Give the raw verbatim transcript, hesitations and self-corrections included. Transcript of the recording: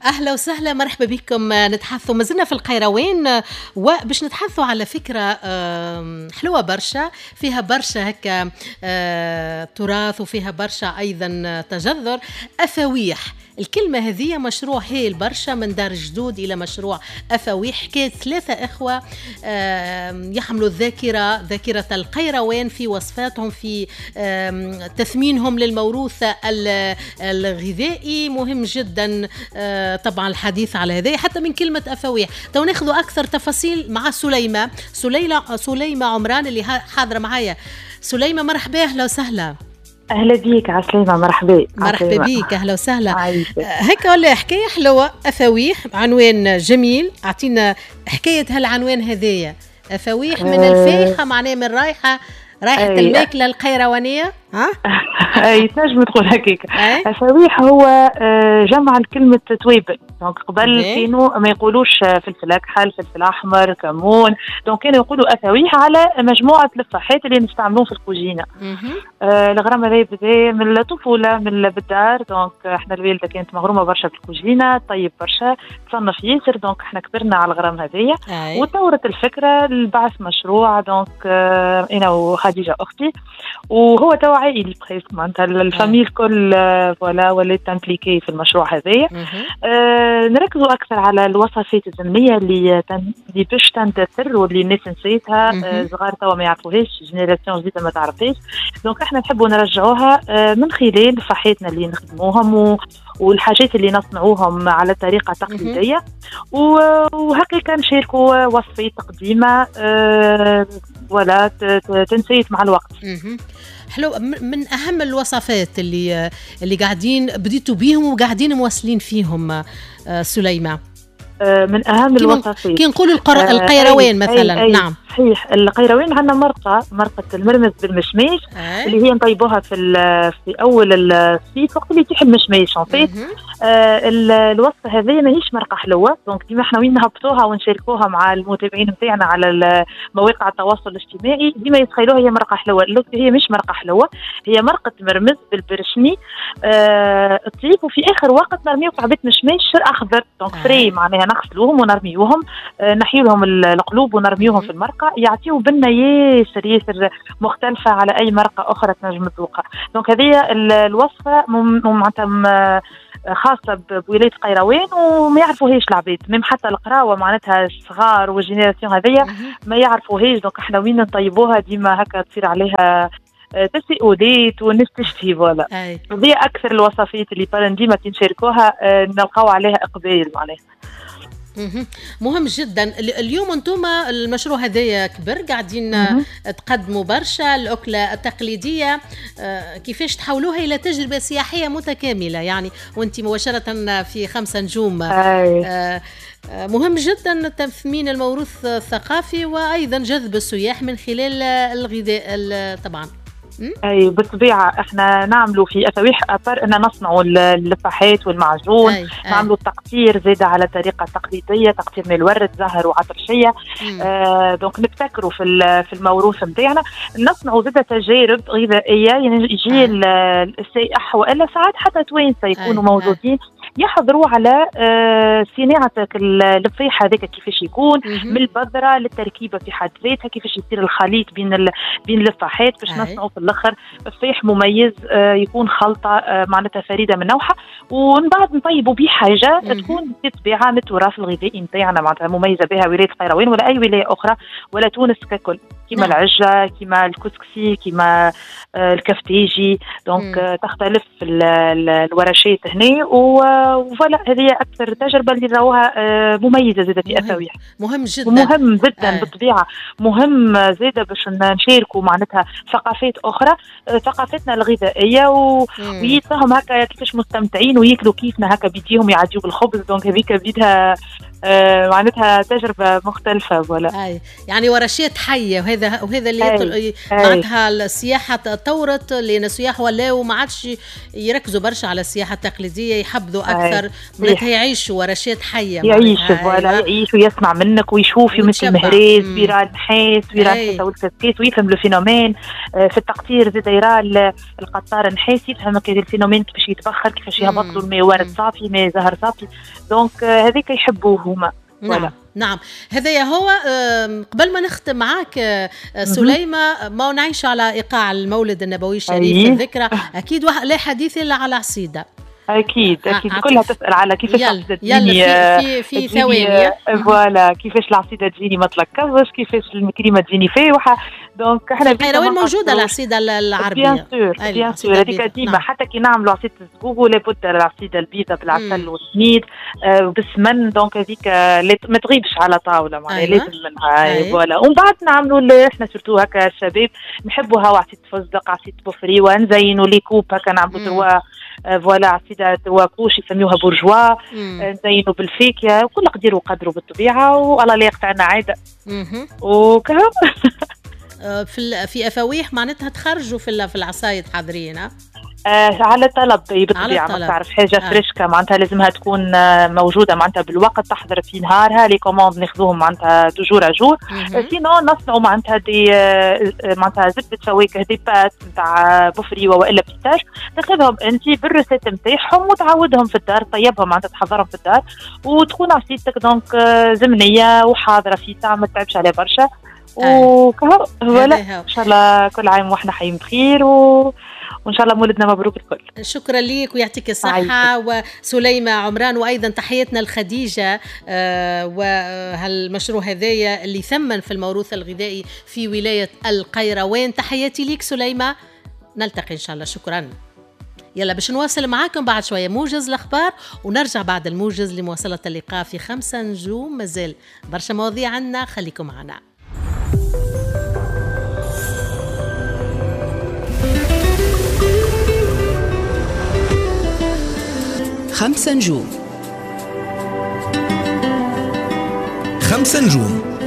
اهلا وسهلا، مرحبا بكم. نتحدثوا مازلنا في القيروان، وباش نتحدثوا على فكرة حلوة برشا، فيها برشا هكا آه، تراث وفيها برشا ايضا تجذر. افاويح، الكلمة هذه مشروع هايل برشا، من دار جدود إلى مشروع أفاويح. حكاية ثلاثة إخوة يحملوا الذاكرة، ذاكرة القيروان في وصفاتهم، في تثمينهم للموروث الغذائي. مهم جدا آه، طبعا الحديث على هذا حتى من كلمة أفاويح. تو ناخذ أكثر تفاصيل مع سليمة سليلة سليمة عمران اللي حاضرة معايا. سليمة مرحبا، أهلا وسهلا. اهلا بيك، عسلامة، مرحبا. مرحبا بيك، اهلا وسهلا. هيك ولا حكاية حلوه، افاويح، عنوان جميل. اعطينا حكاية هالعنوان هذايا، افاويح من أه الفايحه، معناه من رايحة رايحة الماكلة القيروانيه. ها اي، تنجم تقول هكاك. افاويح هو آه، جمع لكلمة توابل. donc قبل كانوا ما يقولوش فلفل اكحل، فلفل احمر، كمون، donc كانوا يقولوا افاويح على مجموعة الفاحات اللي نستعملوهم في الكوجينه. آه الغرام هذا بدا من الطفوله، من بالدار. donc احنا الوالدة كانت مغرومه برشا بالكوجينه، طيب برشا، تصنف ياسر، donc احنا كبرنا على الغرام هذايا. وتطورت الفكرة لبعث مشروع، donc آه انا وخديجة اختي، وهو توا عائلي presque، معناتها ال famille الكل voilà ولات impliquée في المشروع هذايا. آه نركزوا اكثر على الوصفات الزمنية اللي تن... اللي باش تندثر واللي الناس نسيتها، آه صغار توا ما يعرفوهاش، génération جديدة ما تعرفهاش. donc احنا نحبوا نرجعوها آه من خلال فحاتنا اللي نخدموهم و... والحاجات اللي نصنعوهم على طريقه تقليديه، وهكاك نشاركوا وصفات قديمة آه voilà تنسيت مع الوقت. حلو. من اهم الوصفات اللي اللي قاعدين بديتوا بيهم وقاعدين مواصلين فيهم آه، سليمة؟ آه، من اهم الوصفات كي نقولوا القر... آه القيروان أي مثلا. أي أي نعم. صحيح، القيروان عندنا مرقه، مرقه المرمز بالمشماش اللي هي نطيبوها في في اول الصيف وقت اللي يتيح المشماش en fait. آه الوصفة هذه ماهيش مرقه حلوه، donc ديما احنا وين نهبطوها ونشاركوها مع المتابعين نتاعنا على مواقع التواصل الاجتماعي ديما يتخيلوها هي مرقه حلوه. هي مش مرقه حلوه، هي مرقه مرمز بالبرشني آه طيب، وفي اخر وقت نرميو كعبات مشماش اخضر، donc frais، معناها نغسلوهم ونرميوهم، آه نحيو لهم القلوب ونرميوهم في المرقه، يعطيو بنه ياسر ياسر مختلفة على اي مرقه اخرى تنجم تذوقها. donc هذه الوصفة معناتها خاصة بولاية قيروان وما يعرفوهاش العباد، même حتى القراوه معناتها الصغار وال génération هذيا ما يعرفوهاش. donc احنا وين نطيبوها ديما هكا تصير عليها تساؤلات والناس تشتهي، voilà. هذه اكثر الوصفات اللي ديما كي نشاركوها آه، نلقاو عليها اقبال معناها. مهم جدا. اليوم انتم المشروع هذايا كبر، قاعدين تقدموا برشا الاكلة التقليديه، آه، كيفاش تحولوها الى تجربه سياحية متكامله، يعني وانت مباشرة في خمسة نجوم. آه، آه، مهم جدا تثمين الموروث الثقافي وايضا جذب السياح من خلال الغذاء طبعا. اي بالطبيعه، احنا نعملوا في افاويح à part ان نصنعوا اللفاحات والمعجون، أي. نعملوا التقطير زاده على طريقه تقليديه، تقطير من الورد، زهر وعطرشيه. آه donc نبتكروا في في الموروث نتاعنا، نصنعوا زاده تجارب غذائيه، يعني يجي السائح والا ساعات حتى توانسة يكونوا موجودين يحضروا على آه، صناعة اللفيح هذاك كيفاش يكون من البذرة للتركيبه في حد ذاتها، كيفاش يصير الخليط بين ال... بين اللفاحات باش نصنعوا في الاخر فيح مميز آه، يكون خلطه آه، معناتها فريدة من نوعها، ومن بعد نطيبوا به حاجة تكون بالطبيعة من التراث الغذائي نتاعنا، معناتها مميزة بها ولاية القيروان ولا اي ولاية اخرى ولا تونس ككل، كما نعم. العجه، كما الكسكسي، كما الكفتيجي. donc تختلف الورشات هنا و voilà، هذه اكثر تجربه اللي راوها آه، مميزة زاده في افاويح. مهم جدا. مهم جدا آه. بالطبيعه، مهم زاده باش نشاركوا معناتها ثقافات اخرى، آه، ثقافتنا الغذائيه و... ويتفهم هكا كيفاش مستمتعين وياكلوا كيفنا هكا بيديهم، يعديوا بالخبز. donc هذيك بيدها آه معناتها تجربه مختلفة voilà. اي يعني ورشات حيه، وهذا وهذا اللي يطل... معناتها السياحة تطورت، لان السياح ولاو ما عادش يركزوا برشا على السياحة التقليدية، يحبذوا اكثر معناتها يعيشوا ورشات حيه، يعيش voilà، يعيش ويسمع منك ويشوف مثل المهريز ويرى النحاس ويرى الحيطة والكسكيس ويفهم le phénomène. في التقطير زاد يرى القطار النحاس، يفهم ال phénomène كيفاش يتبخر، كيفاش يهبط له الماء ورد صافي، ماء زهر صافي. donc هذيك يحبوه هما. نعم نعم، هذا هو. قبل ما نختم معاك سليمة، ما نعيش على إيقاع المولد النبوي الشريف الذكرى، أكيد لا حديث إلا على عصيدة. اكيد اكيد كلها تسال على كيفاش العصيده تجيني. يلا في في, في ثواني voilà، كيفاش العصيده تجيني ما تلكزش، كيفاش الكريمة تجيني فاوحه. donc احنا وين موجودة العصيده العربية؟ bien sûr bien sûr، هذيك ديما. نعم. حتى كي نعملوا عصيده الزقوق لابد العصيده البيضاء بالعسل والسميد آه وبالسمن، donc هذيك ما تغيبش على طاولة معناها. أيوة. لازم منها. voilà، ومن بعد نعملوا احنا surtout هكا الشباب نحبوها عصيده فستق، عصيده بوفريوه، نزينوا les coupes هكا، نعملوا trois voilà عصيده trois couches يسميوها bourgeois، نزينوا بالفاكهه وكل قدير وقدره بالطبيعة، والله لا يقطعنا عادة وكهو. في في افاويح معناتها تخرجوا في في العصايد حاضرين آه على طلب بالطبيعة، ما تعرف حاجة آه. فريشكا معناتها لازمها تكون موجودة معناتها بالوقت، تحضر في نهارها، les commandes ناخذوهم معناتها de jour à jour. sinon نصنعوا معناتها des معناتها زبدة فواكه، des pâtes نتاع بوفريوه والا pistache، تاخذهم انت بال recette نتاعهم وتعودهم في الدار، طيبهم معناتها تحضرهم في الدار وتكون عصيدتك donc زمنية وحاضره في ساعة، ما تتعبش عليها برشا وكهو. voilà، ان شاء الله كل عام واحنا حيين بخير و... وان شاء الله مولدنا مبروك الكل. شكرا ليك ويعطيك الصحة وسليمه عمران، وايضا تحياتنا لخديجه آه وهالمشروع هذايا اللي ثمن في الموروث الغذائي في ولاية القيروان. تحياتي ليك سليمة، نلتقي ان شاء الله. شكرا. يلا باش نواصل معاكم بعد شوية موجز الأخبار، ونرجع بعد الموجز لمواصلة اللقاء في خمسة نجوم. مازال برشا مواضيع عنا، خليكم معنا. خمسة نجوم. خمسة نجوم